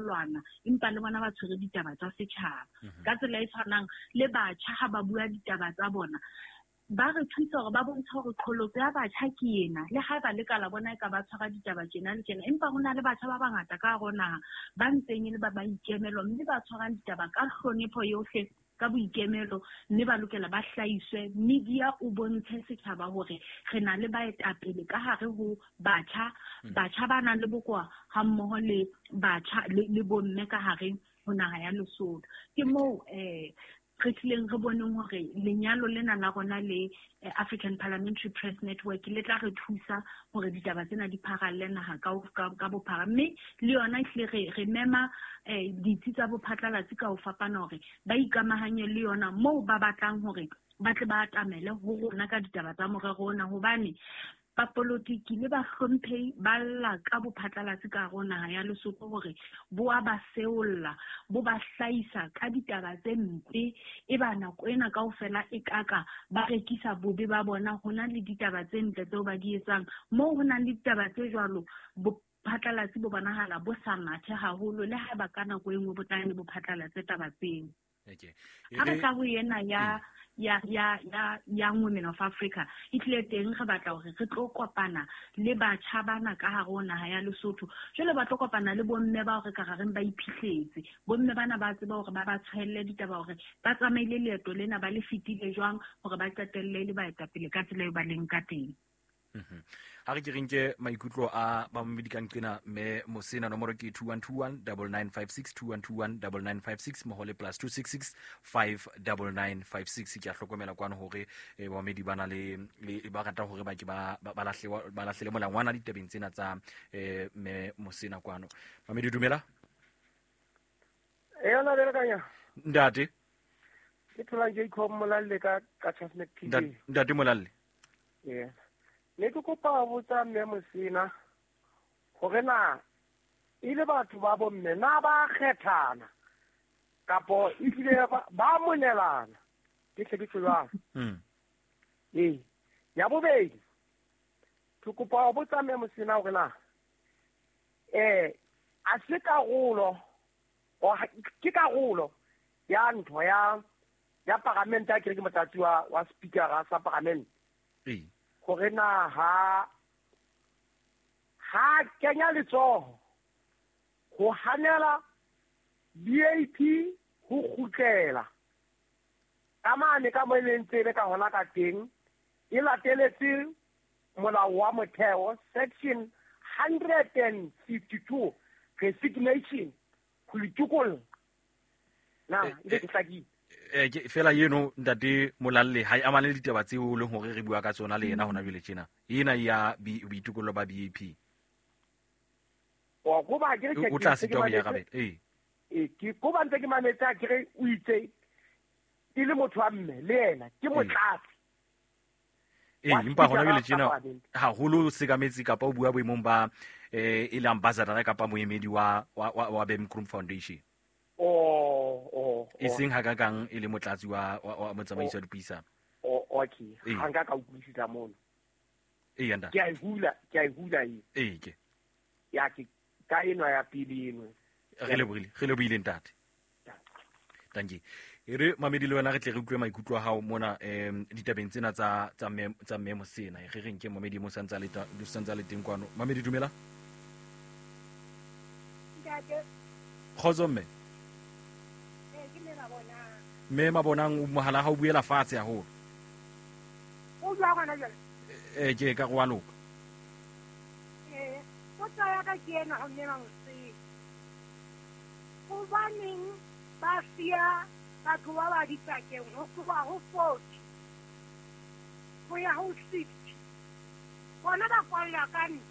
lwana, empa le bona ba tshwere ditaba tsa setjhaba. Ka tsela e tshwanang le batjha ha ba bua ditaba tsa bona, ba re thusa hore ba bontshe hore qholotso ya batjha ke ena. Le haeba le ka la bona e ka ba tshwara ditaba tjena le tjena, empa ho na le batjha ba bangata ka hare ho naha ba ntseng e le ba maikemelo, mme ba tshwarang ditaba ka hlonepho yohle, ka boikemelo, mme ba lokela ba hlahiswe. Media o bontshe setjhaba hore re na le baetapele ka hare ho batjha, batjha ba nang le bokowa ha mmoho le batjha le bomme ka hare ho naha ya Lesotho. Ke moo re tlileng re boneng hore lenyalo lena la rona le African Parliamentary Press Network le tla re thusa hore ditaba tsena di pharalle naha ka bophara. Mme le yona ehlile re mema ditsi tsa bophatlalatsi ka ho fapana hore ba ikamahanye le yona moo ba batlang hore ba tle ba atamele ho rona ka ditaba tsa morero ona, hobane bapolotiki le bahlomphehi ba lla ka bophatlalatsi ka hare ho naha ya Lesotho hore bo a ba seolla, bo ba hlahisa ka ditaba tse mpe. E ba nako ena kaofela e kaka ba rekisa bobe ba bona. Ho na le ditaba tse ntle tseo ba di etsang. Moo ho nang le ditaba tse jwalo, bophatlalatsi bo bonahala bo sa mathe haholo, le haeba ka nako e nngwe bo tla ne bo phatlalatse taba tseo. Ha re tla ho ena ya Young Women of Africa, e tlile teng re batla hore re tlo kopana le batjha bana ka hare ho naha ya Lesotho. Jwale ba tlo kopana le bomme bao re ka re reng ba iphihletse. Bomme bana ba tseba hore ba ba tshwelle ditaba hore ba tsamaile leeto lena ba le fetile jwang hore ba qetelle le baetapele ka tsela eo ba leng ka teng. Ha re ke re nke maikutlo a bamamedi ka nqena, mme Mosena nomoro ke two one two one double nine five six, two one two one double nine five six, mmoho le plus two six six five double nine five six. Ke a hlokomela kwano hore bamamedi ba na le ba rata hore ba ke ba lahlele molangwana ditabeng tsena tsa mme Mosena kwano. Mamedi, dumela. E yona bele kanya. Ntate. Ke thola Jacob Molalle ka Chasmet PJ. Ntate Molalle. Yeah. Ne ke kopa ho botsa mme Mosena hore na e le batho ba bomme na ba kgethana kapo ehlile ba monelana, ke hle ke tjho jwalo. Ee. Ya bobedi, ke kopa ho botsa mme Mosena hore na a se karolo, ke karolo ya ntho ya paramente, a kere ke motlatsi wa speaker sa paramente. Hore na ha kenya letsoho ho hanela BAP ho kgutlela ka mane ka mo e leng tsebe ka hona ka teng, e lateletse molao wa motheo section 152 resignation ho itokolla. Na, e ke hlakile. Ke fela eno ntate Molalle ha e amane le ditaba tseo leng hore re bua ka tsona le yena hona jwale tjena. Ena ya boitokollo ba BAP. Wa go ba ke re O tla ke sitwa ho mametse. arabela. Ee. Ee, ke go ba ntse ke mametse a ke re o itse e le motho wa mme le yena ke motlatsi. Ee, Wa empa hona speaker jwale tjena wa parliament. haholo o sekametse kapa o bua boemong ba e le ambassador kapa moemedi wa Bemkroom Foundation. E seng ha ka kang e le motlatsi wa motsamaisi wa dipuisano. Oh, okay. Ee. Ha nka ka utlwisisa mono. Ee, ntate. Ke a e hula, ke a e hula e. Ee, ke. Ya ke ka enwa ya pele eno. Re lebohile, re lebohile ntate. Thank you. E re mamedi le wena re tle re utlwe maikutlo a hao mona ditabeng tsena tsa mme Mosena. E re reng ke mamedi mo santsa le ta, santsa le teng kwano. Mamedi, dumela. Ntate. Kgotso mme. Ee, ke mme Mabonang. Mme Mabonang, o mohala ha o buela fatshe haholo. O bua gona jwale? Ke ka go a loka. Ee, potso ya ka ke ena ho mme Mosena. Hobaneng ba siya batho ba ba dipakeng ho tloha ho 40 ho ya ho 60? Bona ba kwallwa ka ntle.